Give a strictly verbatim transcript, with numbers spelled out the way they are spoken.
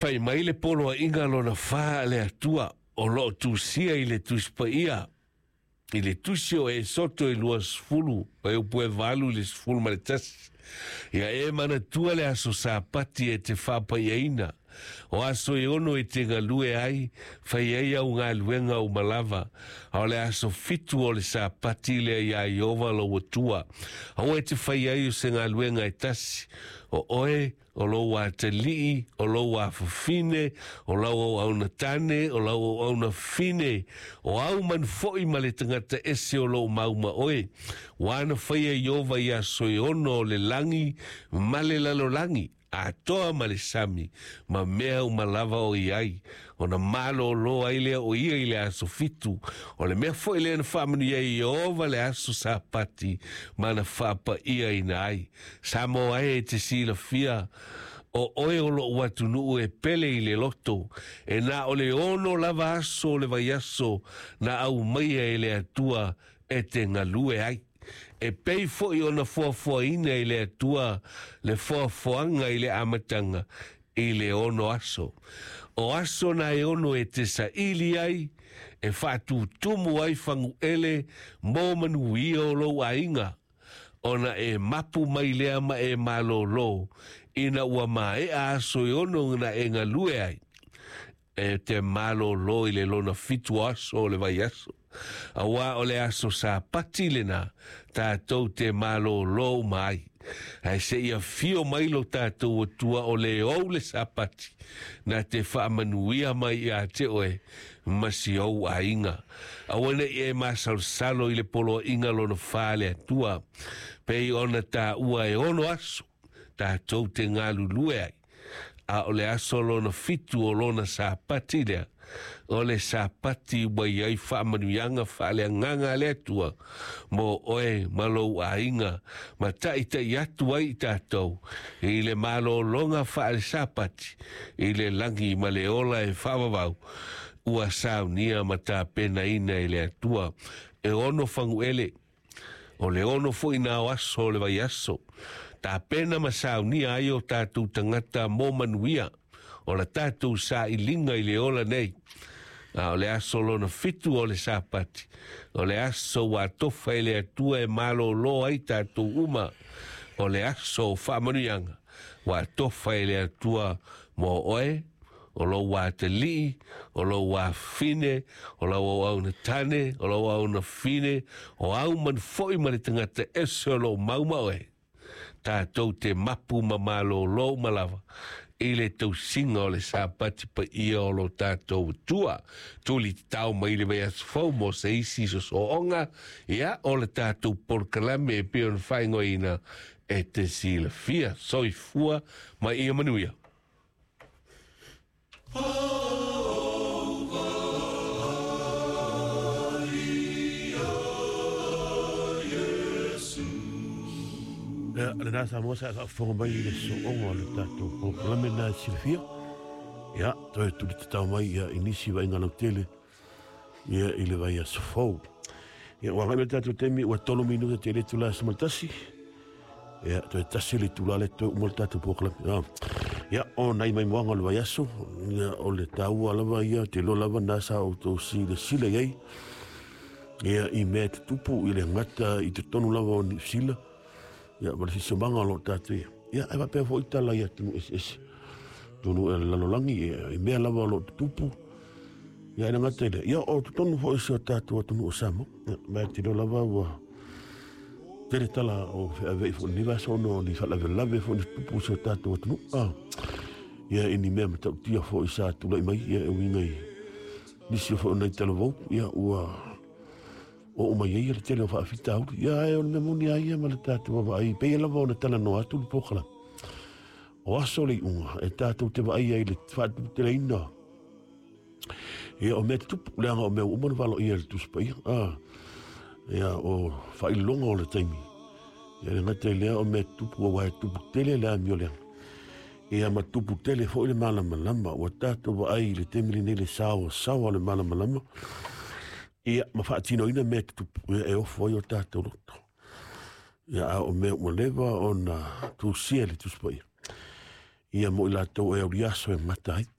Fai mai le poloaiga lona fa a le Atua o loo tusia i le Tusi Paia i le tusi o Esoto e luasefulu e upu e valu i le sefulu ma le tasi. Ia e manatua le aso Sapati e te faapaiaina. O aso e ono e te galue ai, fai ai au galuega uma lava. A o le aso fitu o le Sapati lea iā Ieova lou Atua. Aua e te fai ai o se galuega e tasi. O oe, o lou atalii, o lou afafine, o lau auauna tane, o lau auauna fine, o au manu foi ma le tagata ese o loo mau ma oe. Ua na faia Ieova i aso e ono o le lagi ma le lalolagi, atoa ma le sami, ma mea uma lava o i ai. Ona malōlō ai lea o ia i le aso fitu. O le mea foi lea na faamanuia ai Ieova le aso Sapati ma na faapaiaina ai. Samoa e e te silafia, o oe o lou atunuu e pele i le loto, e na o le ono lava aso o le vaiaso na aumaia e le Atua e te galue ai. E pei foi ona foafoaina e le Atua le foafoaga i le amataga i le ono aso. O aso na e ono e te saili ai, e faatutumu ai faguele mo manuia o lou aiga, ona e mapu mai lea ma e malōlō, ina ua maea aso e ono na e galue ai. E te malōlō i le lona fitu aso o le vaiaso. Auā o le aso Sapati lenā tatou te malōlō uma ai. Ae seia afio mai lo tatou Atua o le ou le Sapati, na te faamanuia mai iā te oe ma si ou aiga. Aua nei e masalosalo i le poloaiga lona fa a le Atua, pei ona taua e ono aso tatou te galulue ai. A o le aso lona fitu o lona Sapati lea, o le Sapati ua i ai faamanuiaga faaleagaga a le Atua mo oe ma lou aiga, ma taʻitaʻi atu ai i tatou i le malōlōga faale-Sapati i le lagi ma le ola e faavavau ua saunia ma tapenaina e le Atua. E ono faguele, o le ono foi na o aso o le vaiaso, tapena ma saunia ai o tatou tagata mo manuia o la tatou sailiga i le ola nei. A o le aso lona fitu o le Sapati, o le aso ua atofa e le Atua e malōlō ai tatou uma, o le aso o faamanuiaga ua atofa e le Atua mo oe, o lou atalii, o lou afafine, o lau auauna tane, o lau auauna fine, o au manu foi ma le tagata ese o loo mau ma oe. Tatou te mapu ma malōlō uma lava i le tausiga o le Sapati paia o lo tatou Atua. Tuli tatao mai le vaiaso fou mo se isi sosooga, ia o le tatou polokalame e pei ona faaigoaina e te silafia. Soifua ma ia manuia. Ia, lena Samoa sa faafofoga mai i le sooga o le tatou polokalame na e silafia. Ia, toe tuli tatao mai ia i nisi vaaiga lautele ia i le vaiaso fou. Ia, ua agai mai le tatou taimi ua tolu minuta te le itula e sefulu ma le tasi. Ia, toe tasi le itula le toe uma le tatou polokalame. Ia, ia, o nai maimoaga o le vaiaso, ia, o le taua lava ia, te iloa lava na sa outou silasila i ai. Ia, i mea e tutupu i le gata i totonu lava o Niu Sila. Ia, ma le siosiomaga o loo tatou ia. Ia, e faapea foi tala i atunuu eseese. Tonu e le lalolagi, ia, i mea lava o loo tutupu. Ia, e le gata i lea. Ia, o totonu foi si o tatou atunuu o Samoa. Ia, ma e te iloa lava ua tele tala o feaveai foi lenei vaiaso ona o ni faalavelave foi na tutupu i si o tatou atunuu. Ah, ia, i ni mea matautia foi sa tulai mai, ia, e uiga i nisi o foi o nai talavou, ia, ua oo mai ai le tele o faafitauli. Ia, ae o le mea moni a ia ma le tatou vaavaai, pei lava ona talanoa atu le polokalame. O aso le iuga e tatou te vaai ai i le faatuputeleina. Ia, o mea tutupu, leaga o mea ua uma ona valoia e le Tusi Paia. Ah, ia, o faailoga o le taimi. Ia, le gata i lea o mea tutupu, aua e tupu tele le amio leaga. Ia, ma tupu tele foi le malamalama. Ua tatou vaai i le taimi lenei le saoasaoa o le malamalama. Ia, ma faatinoina mea tutupu, ia, e ofo ai o tatou loto. Ia, a o mea ua leva ona tusia e le Tusi Paia. Ia mo i latou e auliaso e gata ai.